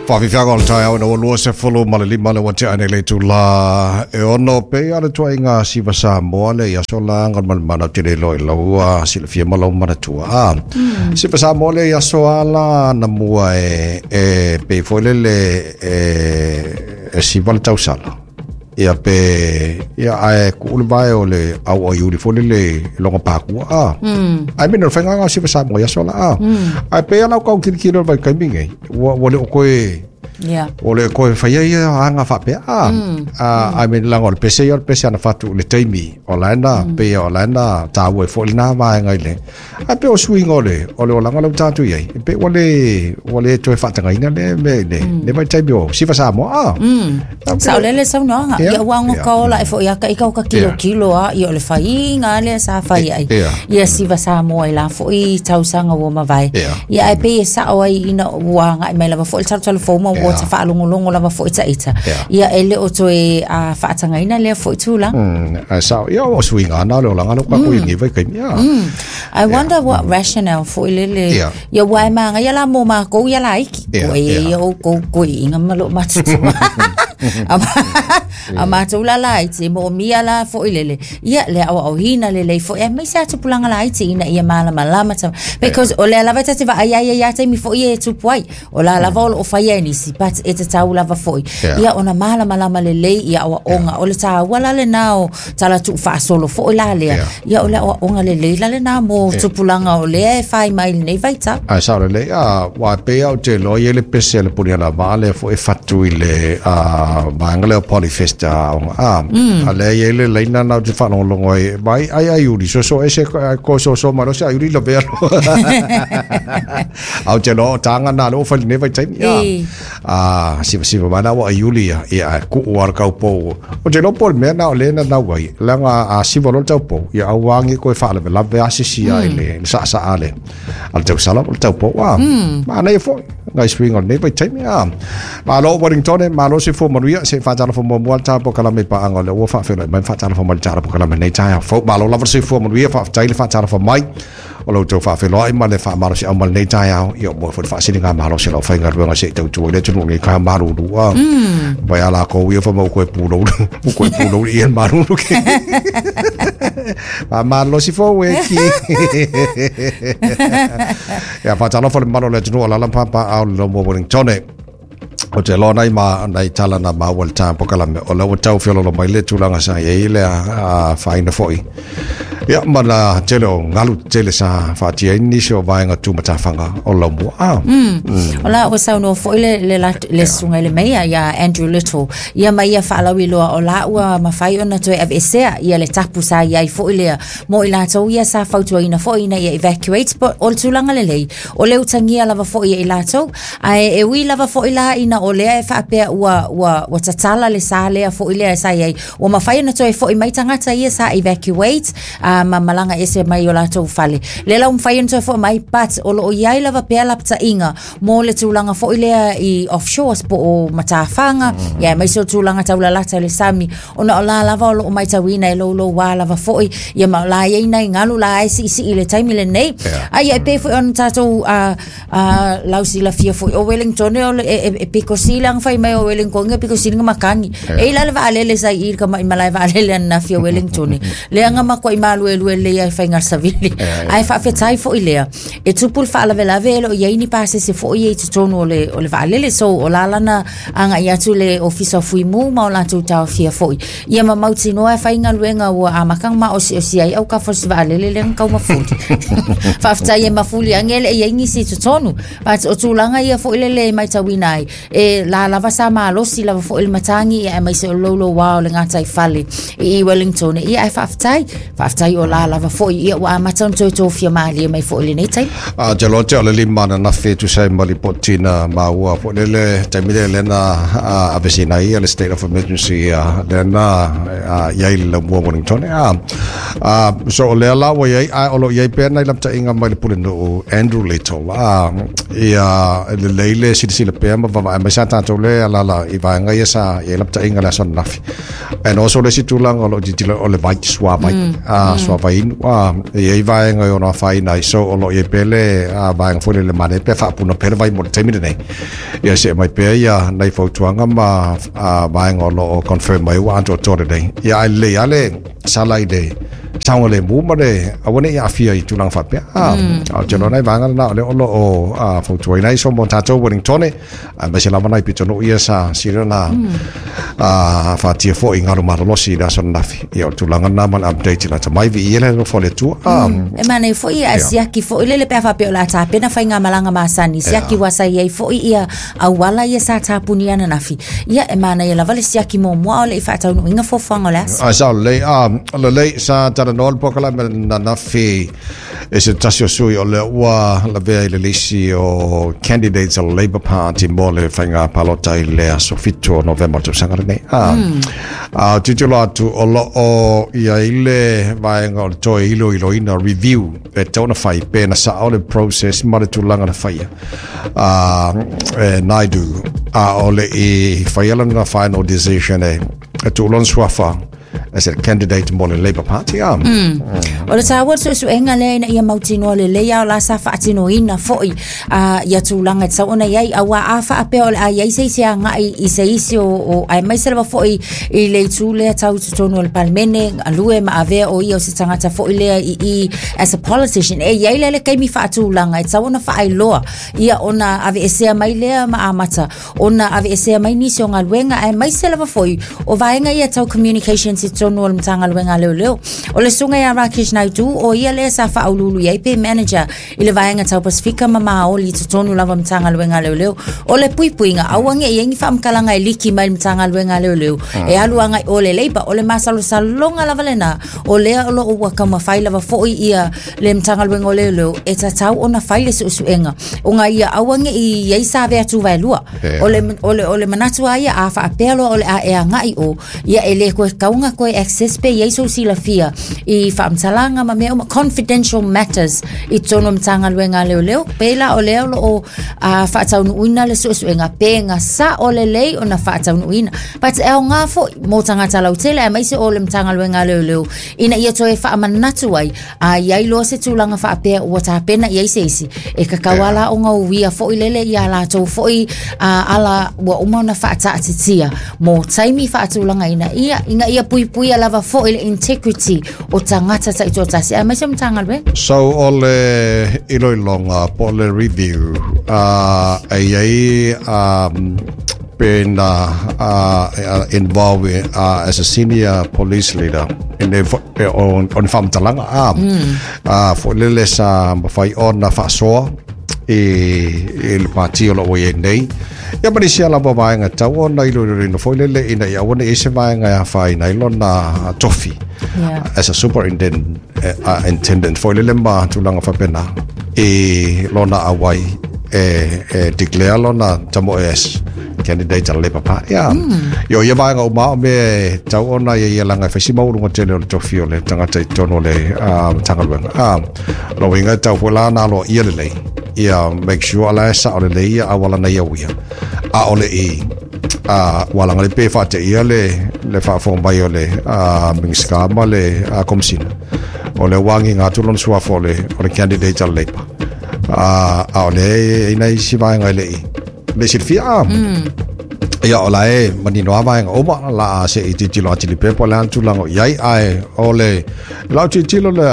Faafiafiaga o le taeao ina ua 25 le ua tea nei le itulā e 6 pei lava o le tuuaiga siva Samoa lea i aso la Galumalemana ou te le iloa i lau silafia ma lou manatua. A, siva Samoa lea i aso a la anamua e pei foi lele e siva le tausala. Ia pe ia ae kuu le vae o le au aiuli foi lele i loga pakua a. I mean o le faiga o siva Samoa i aso la a. Ae pei lava o lau tilotilo i le vaitaimi nei ua le o toe ua le o toe faia ia aga faapea a. I mean leaga o le pese ia o le pese ana fatu i le taimi o la e na pei o la e na taua ai foi lena vaega i le Ae pei o suiga o le o le olaga lea ua tatou i ai, e pei ua le toe faatagaina le mea i le le vaitaimi o Siva Samoa. Ah. Saolele le saunoaga. Ia ua ago ka ola e foi aka i ka kilokilo a ia o le faiga lea sa fai ai. Ia Siva Samoa i la foi tausaga ua mavae. Ia ae pei e sao ai ina ua agai mai lava foi le talutalu fou ma ua ta faalogologo lava foi ita. Ia e le o toe faatagaina lea foi tulaga. Ae sao, ia o suiga na o le olaga lea ua tatou i ai nei vaitaimi. I wonder what rationale foi lele. Ia ua e māngaia la mō mākou ia laiti. Ko e ia o kou koe inga ma loo matutua. A mātou la laiti, mo mia la foi lele. Ia le au au hina lelei foi. Aemaise a tupulaga laiti ina ia malamalama. Because o lea lava e ta te vaai ai ia taimi foi e tupu ai. O la lava o loo faia e nisi, but e tatau lava foi. Ia ona malamalama lelei i aoaoga. O le tāua la lena o tala tuufaasolo foi la lea. Ia o le aoaoga lelei la lena mo tupulaga o lea e fai mai i lenei vaitau. Ae sao lelei, a, aua e pei lava ou te iloa e i ai le pese a le Punialavaa lea foi e fatu i le vaega lea o Polyfest a aoga, a, a lea e i ai le laina na ou te faalogologo ai, vai ai aiuli, soso ese, ko soso mai loa se aiuli lavea loa. A ou te iloa o taga na lea ua fai i lenei vaitaimi, a, a sivasiva mai la ua aiuli ia, ia ae kuu lava le taupou. Ou te iloa po o le mea lena o lea e nanau ai, leaga a siva loa le taupou, ia aua ne i toe faalavelave lava se isi i le saasaa a le tausala po o le taupou. A, manaia foi nai suiga o lenei vaitaimi. A, malo Wellington, malo soifua manuia, se i faatalofa muamua le ta polokalame i paaga o lea ua faafeiloai mai ma faatalofa mai i le tala polokalame i lenei taeao fou. Malo lava le soifua manuia, faafetai le faatalofa mai. O lo outou faafeiloai ma le faamalosiau mai lenei taeao, ia ua foi le faasiligamalosi o le aufaigaluega se i tautua i le atunuu nei ka malulu a. Vai a lākou ia wha mau koe pūlou, u koe pūlou i e malulu ke. Faamalosi fou e ki. Ia whātalofa le malo le atunuu o lala pāpā au le lomo Wellingtone. Ou te iloa nai ma nai tala na maua i le taeao polokalame o lea ua tau feololo mai le tulaga sa i ai le faaina foi. Ia ma na tele o galu tele sa faatia ai nisi o vaega tumatafaga o Laumua. Ah. O la ua saunoa foi le le la, le susuga i le meia ia Andrew Little ia ma ia faalauiloa o la ua mafai ona toe aveesea ia le tapu sa i ai foi lea mo i latou ia sa fautuaina foi ina ia evacuate po o le tulaga lelei o le utagia lava foi e i latou Ae e ui lava foi la ina o lea e faapea ua, ua, ua tatala le sa lea foi lea sa i ai, ua mafai ona toe foi mai tagata ia sa evacuate ma malaga ese mai o latou fale. Lea la ua mafai ona toe foi mai, but o lo o i ai lava pea lapataiga mo le tulaga foi lea i offshores po o matafaga, ia aemaise o tulaga taulalata i le sami, ona o la lava o lo o matauina e louloua lava foi, ia ma o la e i ai nai galu la e siisii i le taimi lenei. A ia e pei foi ona tatou A lau silafia foi o Wellington o le e pito sili ana fai mai o Wellington e pito sili na makani. E i la le vaalele sa i i le kama'i malae vaalele ananafi o Wellington. Lea na matuai maluelue lelei ai faiga savili. Ae faafetai foi lea. E tupu le faalavelave e le o i ai ni pasese foi ia i totonu o le vaalele. So o la lana agai atu le Ofisa o Fuimu ma o latou taofia foi. Ia ma mautinoa e faigaluega ua amata ona maosiosi ai autafa o si vaalele lea na tau mafuli. Faafetai e mafuli ane e le i ai nisi i totonu. But o tulaga ia foi lele e matauina ai, e la lava sa malosi lava foi le matagi ia aemaise o le louloua o le gataifale i Wellington. Ia ae faafetai, faafetai o la lava foi ia ua amata ona toe tofia malie mai foi i lenei taimi. A te loa te o le lima ananafi e tusa ai ma lipoti na maua foi lele taimi lea lea na aveseina ai le state of emergency lea na i ai le laumua Wellington. A so o lea la ua i ai ae o lo o i ai pea nai lapataiga mai le pulenuu Andrew Little ia e lelei le silasila pea ma vaavaai Mai sa tātou le alala i vaega ia sa i ai lapataiga le aso ananafi. And also le isi tulaga o lo o tilotilo o le vai, suavai, suavai inu, e i ai vaega e ono afaina ai. So o lo o i ai pea le vaega foi lele manaia pe faapuna pea le vai mo le taimi lenei. Ia see mai pea ia nai fautuaga ma vaega o lo o confirm mai ua atoatoa lelei. Ia ae lelei lava le sala i le saogalemu ma le aua ne i aafia i tulaga faapea. A ou te iloa nai vaega lena o lea o lo o fautuaina ai so mo tatou Wellingtone, aemaise lava nai pitonuu ia sa sili ona fatia foi i galu malolosi i le aso ananafi. Ia o le tulaga lena ma le update i lata mai viia le alofa o le Atua. E manaia foi ia siaki foi lele pe a faapea o le a tapena faigamalaga masani, siaki ua sa i ai foi ia auala ia sa tapunia ananafi. Ia e manaia lava le siaki muamua a o le i faataunuuina fuafuaga o le aso. Ai sao lelei, lelei sa talanoa le polokalame ananafi e se tasi o sui o lea ua lavea i le lisi o candidates o le Labour Party mo le faiga palota i le aso 7 o Novema o le tausaga lenei. A tilotilo atu o lo o i ai le vaega o le toe iloiloina review e tatau ona fai pe na sao le process ma le tulaga na faia e Naidu a o le i faia lana final decision e tuu lona suafa as a candidate mo le Labour Party. O le taua o le suesuega lea ina ia mautinoa lelei a o la sa faatinoina foi ia tulaga e tatau ona i ai, auā a faapea o le a i ai se isi agai i se isi o aemaise lava foi i le itu lea tau i totonu o le Palemene, galue ma avea o ia o se tagata foi lea i i as a politician. E i ai lea le taimi faatulaga e tatau ona faailoa ia ona aveesea mai lea ma amata ona aveesea mai nisi o galuega, aemaise lava foi o vaega ia tau communications i totonu o le Matagaluega a Leoleo. O le susuga ia Rakesh Naidu, o ia lea sa faauluulu i ai pe manager i le vaega tau Pasifika ma Maoli i totonu lava o le Matagaluega a Leoleo. O le puipuiga, aua ne i ai ni faamatalaga e liki mai le Matagaluega a Leoleo e alu agai o le Labour. O le masalosaloga lava lena, o lea o lo o ua taumafai lava foi ia le Matagaluega o Leoleo e tatau ona fai le suesuega ona ia aua ne i ai sa avea tuvaelua. O le manatu lava ia, a faapea loa o le a e agai o, ia e le toe tatau ona toe access pe i ai sou silafia i faamatalaga ma mea uma, confidential matters i totonu o le Matagaluega a Leoleo. Pe la o lea o lo o faataunuuina le suesuega pe na sao lelei ona faataunuuina. But e aoga foi mo tagata lautele aemaise o le Matagaluega a Leoleo ina ia toe faamanatu ai a i ai loa se tulaga faapea ua tapena i ai se isi, e tatau lava la ona uia foi lele ia latou foi ala ua uma ona faataatitia mo taimi faatulagaina ia ina ia puipuia lava foi le integrity o tagata taitoatasi aemaise o Matagaluega. So o le iloiloga po o le review e i ai pe na involve as a senior police leader i ne o ni faamatalaga foi lele sa mafai ona faasoa i le pati o lo o i ai nei. Ia ma nisi lava vaega tatau ona iloiloina foi lele ina ia aua ne i ai se vaega e afaina ai lona tofi as a superintendent intendant foi lele ma tulaga faapena i lona auai e declare lona tamoe as candidate a le Labour Party. Ia o ia vaega uma o mea e tatau ona ia ia leaga e fai si maualuga tele o le tofi o le tagata i totonu o le Matagaluega. O lona uiga e tatau foi la ona aloaia lelei ia make sure la e sao lelei ia auala na ia uia a o le i ua laga le pe faateia le faafofoga mai o le Minisita ma le Komesina o lea ua agiga atu lona suafa o le candidate a le Labour a o lea e i ai nai isi vaega e le i le silafia. Ia o la e manino lava vaega uma la se i tilotilo atili pea po o le a le tulaga o i ai ae o le lau tilotilo le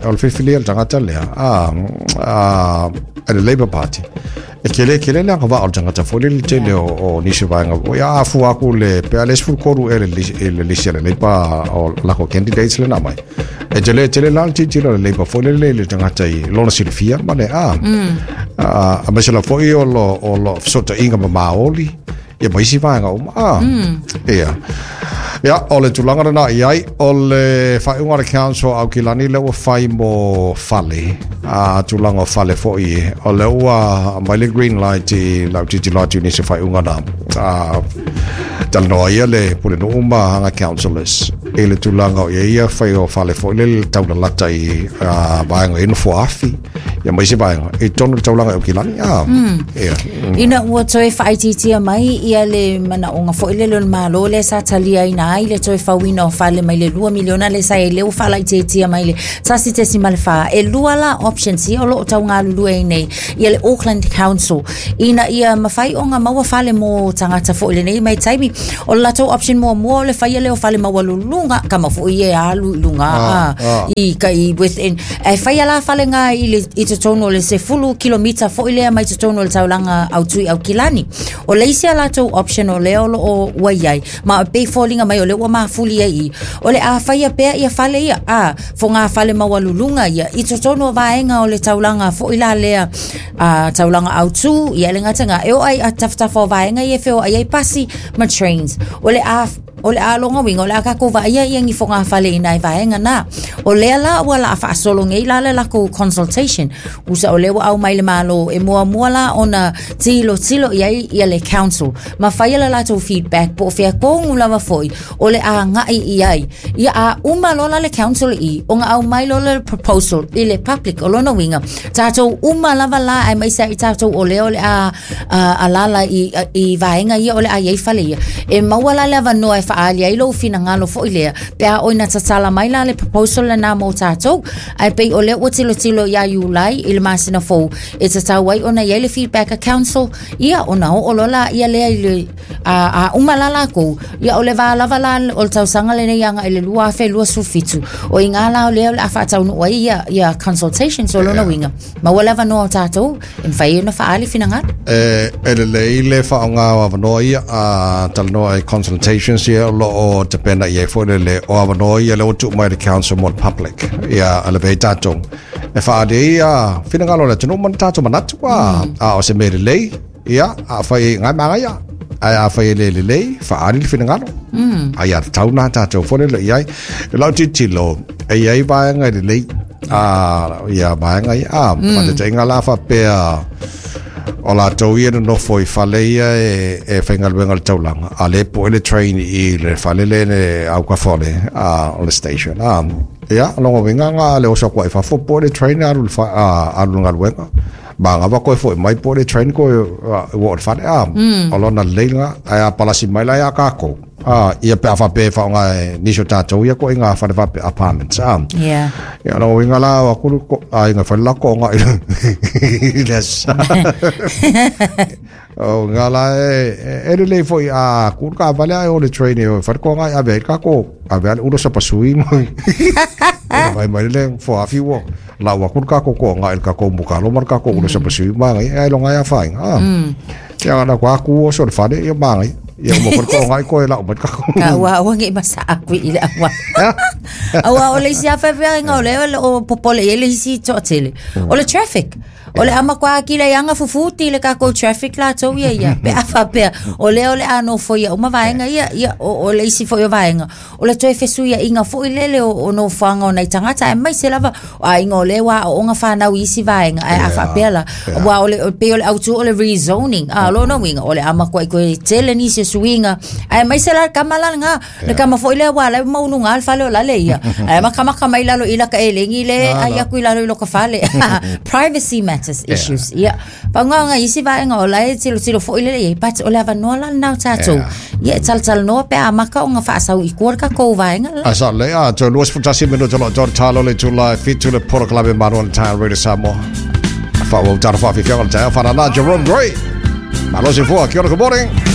o le filifilia o le tagata lea a le Labour Party e tele tele le agavaa o le tagata foi lele tele o nisi vaega ia a fua atu le pe a le 13 e le lisi a le Labour o lako candidates le na mai e tele tele la le tilotilo a le Labour foi lele i le tagata i lona silafia ma le aemaise lava foi o lo fesootaiga ma Maoli ia ma isi vaega uma. Ia o le tulaga lena i ai o le faaiuga a le council o Aukilani lea ua fai mo fale tulaga o fale foi o lea ua aumai le green light i lau tilotilo atu i nisi o faaiuga na talanoa ia le pulenuu ma aga councillors i le tulaga o i ai ia fai o fale foi lele taulalata i vaega i nofoa afi. Ia ma isi vaega i totonu o le taulaga i Aukilani a. Ia. Ina ua toe faaitiitia mai ia le manaoga foi lele o le Malo lea sa taliaina ai le toe fauina o fale mai le 2 miliona lea sa i ai lea ua faalaitiitia mai le 1.4. E lua la options ia o lo o tau galulue ai nei ia le Auckland Council ina ia mafai ona maua fale mo tagata foi i lenei vaitaimi. O le latou option muamua o le faia lea o fale maualuluga, kama foi ia e alu i luga ah, ah. i ka i within. E faia la fale ngā i, le, i totonu o le 10 kilomita foi lea mai totonu o le taulaga autui i Aukilani. O le isi a latou option o lea o lo o ua i ai, ma e pei foliga mai o lea ua mafuli ai i, o le a faia pea ia fale ia, a, fogafale maualuluga ia, i totonu o vaega o le taulaga foi la lea, a, taulaga autū, ia le gata e oo ai a tafatafa o vaega ia e feoai ai pasi ma trains. O le a o le a lona uiga o le a tatou vaaia ia ni fogafale i nai vaega na. O lea la ua laa faasolo nei la le latou consultation. Usa o lea ua aumai le Malo e muamua la ona tilotilo i ai ia le council ma faia le latou feedback po o fea tonu lava foi o le a agai i ai. Ia a uma loa la le council i ona aumai loa le proposal i le public. O lona uiga, tatou uma lava la aemaise ai tatou o lea o le a alaala i, i vaega ia o le a i ai fale ia. E maua la le avanoa e faaali ai lou finagalo foi lea, pe a oi na tatala mai la le proposal lena mo tatou. Ae pei o lea ua tilotilo ia Iulai i le masina fou, e tatau ai ona i ai le feedback a council, ia ona oo loa la ia lea i le, a, a uma la lakou, ia o le va lava la o le tausaga lenei agai i le 2027, o i ngā la o lea o le a faataunuu ai ia, ia consultations o lona uiga, maua le avanoa o tatou e mafai ai ona faaali finagalo. E, e lelei le faaaoga o avanoa ia a talanoa i consultations ia o lo o tapena i ai foi le le o avanoa ia lea ua tuu mai le council mo le public ia a lavea ai tatou e faaali ai ia finagalo o le atunuu ma ni tatou manatu a, a o se mea lelei ia afai e ngai magaia ae afai e le lelei faaali le finagalo ai a tatau na tatou foi lele i ai i lau tilotilo e i ai vaega e lelei a ia vaega ia a faataitaiga la faapea o latou ia nonofo i fale ia e, e faigaluega le taulaga a le poe le train i le fale le le autafa o le a o le station a ia lona uiga ga le oso atu ai fafo poe le train alu le fa, a, alu le galuega Magava koe foi mai po le train koe ua o le fale a o lona lelei lena ae a palasi mai la ia kākou a ia pe a faapea e faaaoga e nisi o tātou ia koe i ngā fale faapea apartments a Yeah. ia lona uiga la o aku ko aiga fale la ko nga i le asa o ngā la e e lelei foi a ku ka vale ai o le train e o fale ko nga ave ai kākou ave ai le ulo sapasui mai mai mai le foafi ua Lau aku le kākou koʻoga i le kākou mukalo ma le kākou ula sapasui māngai ai longa ia whainga. Ah. Ia na ko aku oso le fale ia māngai. Ia mo ko koʻoga i koe lau mai kākou. Ka ua ua ngi masa aku i le awa. Aua o le isi afa pea inga o le o le o popole i le isi toatele. O le traffic. O le ama kwa kila ianga fufuti le kākou traffic latou ia ia. Pe afa pea o le o le ano foi ia uma vaenga ia ia o, o le isi foi o vaenga. O le toe fesuiaiga foi lele o, o nofoaga o nai tagata aemaise lava o aiga o lea ua aooga fanau i isi vaega ae a faapea la aua o le pei o le autu o le rezoning a o lona uiga o le a matuai toe tele nisi o suiga aemaise la le tama la lena le tama foi lea ua ala ai maualuga le fale o lale ia ae makamaka mai lalo i laka elegi le ai aku i lalo i loka fale privacy matters issues ia Pauga isi vaega o la e tilotilo foi lele i ai, but o le avanoa la lena o tatou. Ia e talatalanoa pe a amata ona faasau i tua le tatou vaega la. A sa le a toe 21 minuta lo tō talo le tula e fitu le porokalame manu o le taeao Radio Samoa. Wha ua utara wha whiwhianga le taeao whanana Jerome Gray. Malo se fua, kia ora, good morning.